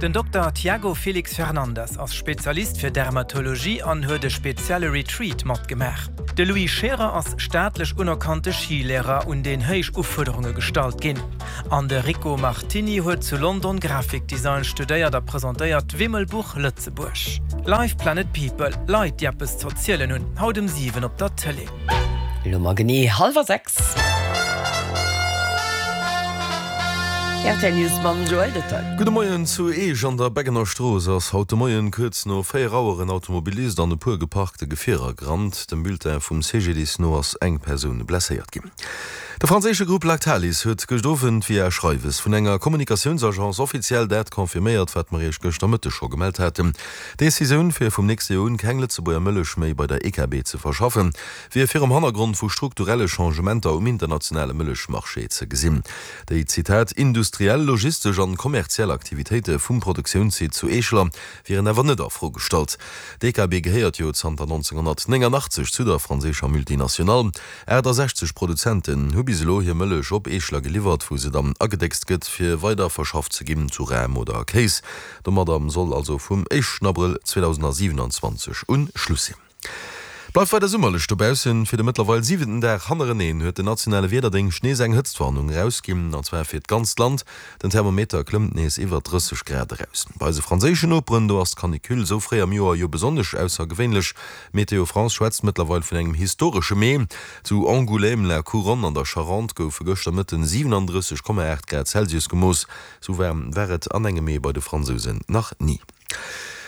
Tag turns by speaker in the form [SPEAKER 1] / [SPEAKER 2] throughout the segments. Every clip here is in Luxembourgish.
[SPEAKER 1] Den Dokter Tiago Felix Fernandes ass Spezialist fir Dermatologie an huet e spezielle Retreat matgemaach. De Louis Scherer ass staatlech unerkannte Skilehrer, un deen héich Ufuerderunge gestallt ginn. An de Rico Martini huet zu London Grafikdesign studéiert a presentéiert d'Wimmelbuch Lëtzebuerg. Live Planet People, Leit déi eppes z'erzielen hunn, haut um 7 op der Tëlee.
[SPEAKER 2] Elo mar genee hallwer 6. Rtl News mam Joël Detail.
[SPEAKER 3] Gudde Moien, Zu Eech an der Beggener Strooss ass haut de Moien kuerz no 4 Auer en Automobilist an e puer geparkte Gefierer gerannt. Dem Bulletin vum CGDIS no ass eng Persoun blesséiert ginn. De franséische Grupp Lactalis huet gëscht Owend via Schreiwes vun enger Kommunikatiounsagence offiziell dat confirméiert, wat mer Iech gëschter Mëtteg scho gemellt haten. D'Decisioun, fir vum nächste Joer un keng Lëtzebuerger Mëllech méi bei der EKB ze verschaffen, wier virum Hannergrond vu strukturelle Changementer um internationale Mëllechmarché ze gesinn. Déi, Zitat, industriell, logistesch an kommerziell Aktivitéite vum Produktiounssite zu Eeschler wieren awer net a Fro gestallt. D'EKB gehéiert jo zanter 1989 zu der franséischer Multinationale. 68 Produzenten hu bis elo hir Mëllech op Eeschler geliwwert, wou se dann agedéckst gëtt, fir weider verschafft ze ginn zu Ram oder Kéis. Domadder soll also vum éischten Abrëll 2027 un Schluss sinn. Bleift weider summerlech dobaussen. Fir de mëttlerweil siwenten Dag hannereneen huet den nationale Wiederdéngscht nees eng Hëtztwarnung erausginn, an zwar fir d'ganzt Land. Den Thermometer klëmmt nees iwwer 30 Grad eraus. Bei eise franséischen Noperen, do ass d'Canicule esou fréi am Joer jo besonnesch aussergewéinlech. Météo France schwätzt mëttlerweil vun engem historesche Mee. Zu Angoulême-la-Couronne an der Charente goufe gëschter Mëtten 37,8 Grad Celsius gemooss. Sou waarm war et an engem Mee bei de Fransousen nach ni.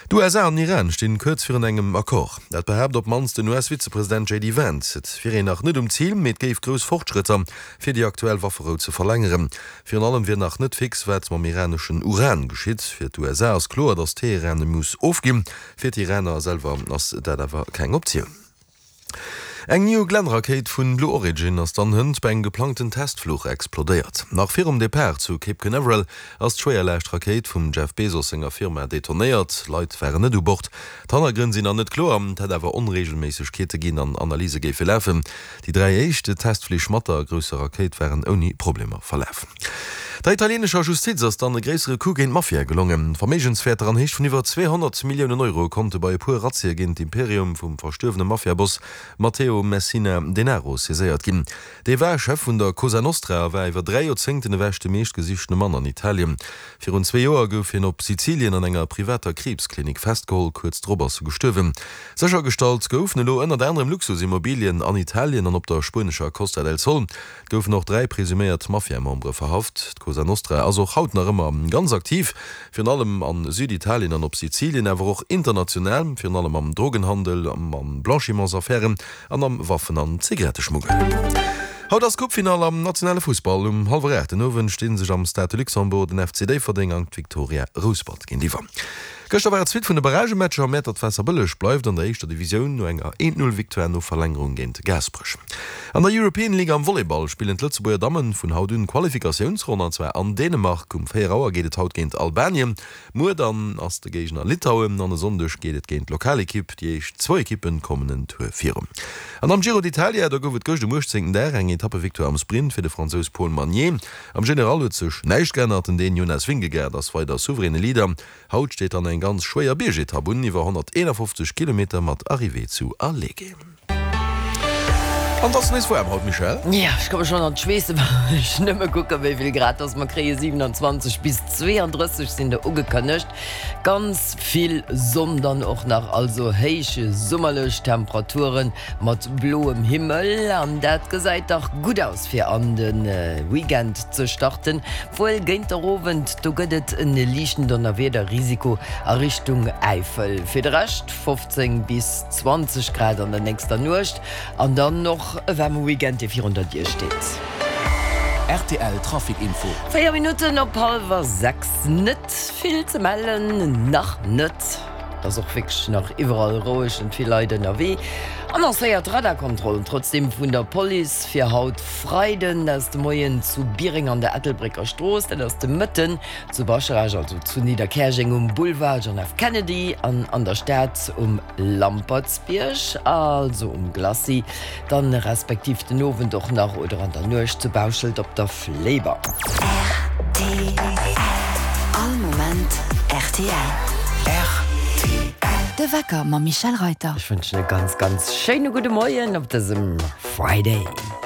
[SPEAKER 3] D'USA an den Iran stinn kuerz virun engem Accord. Dat behaapt op d'mannst den US-Vizepresident JD Vance. Et wier een nach net um Zil, mee et géif grouss Fortschrëtter, fir déi aktuell Wafferou ze verlängeren. Virun allem wier nach net fix, wat mam iraneschen Uran geschitt. Fir d'USA ass kloer, datt Teheran e muss ofginn. Fir d'Iraner selwer ass dat awer keng Optioun. Eng New Glenn-Rakéit vun Blue Origin ass dann hënt bei engem geplangten Testfluch explodéiert. Nach virum Depart zu Cape Canaveral ass d'Schwéierlaascht-Rakéit vum Jeff Bezos senger Firma detonéiert. Leit waren net u Bord. D'Hannergrënn sinn nach net kloer, et hätt awer Onreegelméissegkeete ginn an Analyse géife lafen. Déi 3 éischt Testflich mat der grousser Rakéit waren ouni Problemer verlaf. Der italienescher Justiz ass dann e gréissere Coup géint d'Mafia gelongen. Verméigenswäerter an Héicht vun iwwer 200 Milliounen Euro konnte bei e puer Razzie géint d'Imperium vum verstuerwene Mafiaboss Matteo Messina Denaro saiséiert ginn. Dee war Chef vun der Cosa Nostra a war iwwer 3 Joerzéngten ewech de meeschtgesichtene Mann an Italien. Virun zwee Joer gouf hien op Sizilien an enger privater Kriibsklinik festgeholl, kuerz drop ass e gestuerwen. Séchergestallt goufen elo ënnert anerem Luxusimmobilien an Italien an op der spuenescher Costa del Sol. Et goufen och 3 presuméiert Mafia-Membere verhaft. D'Cosa Nostra ass och haut nach ëmmer ganz aktiv, virun allem a Süditalien an op Sizilien, awer och international, virun allem am Drogenhandel, am Blanchimentsaffären an am Waffen an Zigaretteschmuggel. Haut ass d'Coupefinall am nationale Fussball. Um hallwer 8 den Owend sti sech am Stade de Luxembourg den FC Déifferdeng an d'Victoria Rouspert géintiwwer. Gëschter war et d'Suite vun de Barragematcher. Mäertert-Waasserbëlleg bleift an der éischter Divisioun no enger 1-0 Victoire no Verlängerung géint Gaasperech. An der European League am Volleyball spillen d'Lëtzebuerger Dammen vun haut un d'Qualifikatiounsronn an zwar an Dänemark. Um 4 Auer geet et haut géint Albanien, muer dann ass de Géigner Litauen an e Sonndeg geet et géint d'Lokalekipp. Déi éischt zwou Ekippen kommen en Tour virun. An am Giro d'Italia, do gouf et gëscht um 18. Dag eng Etappevictoire am Sprint fir de Fransous Paul Magnier. Am General huet sech näischt geännert, den Dän Jonas Vingegaard ass weider souveräne Leader. Haut steet dann eng ganz schwéier Biergetapp un, iwwer 151 Kilometer mat Arrivée zu Alleghe. An et ass nees waarm haut, Michèle.
[SPEAKER 2] Jo, ech komme schonn an d'Schweessen, wann ech nëmme kucken, wéi vill Grad dass mer kréien. 27 bis 32 sinn der ugekënnegt. Ganz vill Sonn dann och nach, also héich summerlech Temperaturen mat bloem Himmel. An dat gesäit dach gutt aus fir an de Weekend ze starten. Wuel géint der Owend, do gëtt et en liichten Donnerwiederrisiko a Richtung Äifel. Fir de Rescht 15 bis 20 Grad an der nächster Nuecht an dann och e waarme Weekend, dee virun der Dier steet.
[SPEAKER 4] Rtl Trafic Info.
[SPEAKER 2] 4 Minutten op hallwer 6, net vill ze mellen, nach net. Et ass och wierklech nach iwwerall roueg an vill Leit ënnerwee. Annoncéiert Radarkontrollen trotzdeem vun der Police fir haut Freiden aus de Moien zu Biereng an der Ettelbrécker Strooss. Dat ass de Mëtten zu Bascharage, also zu Nidderkäerjeng um Boulevard John F. Kennedy an an der Stad um Lampertsbierg, also um Glacis, dann respektiv den Owend och nach oder an der Nuecht zu Bauschelt op der Fléiber.
[SPEAKER 5] Rtl. All Moment rtl.
[SPEAKER 2] Rtl. Rtl. De Wecker mam Michèle Reyter. Ech wënschen e ganz, ganz schéine gudde Moien op dësem Friday.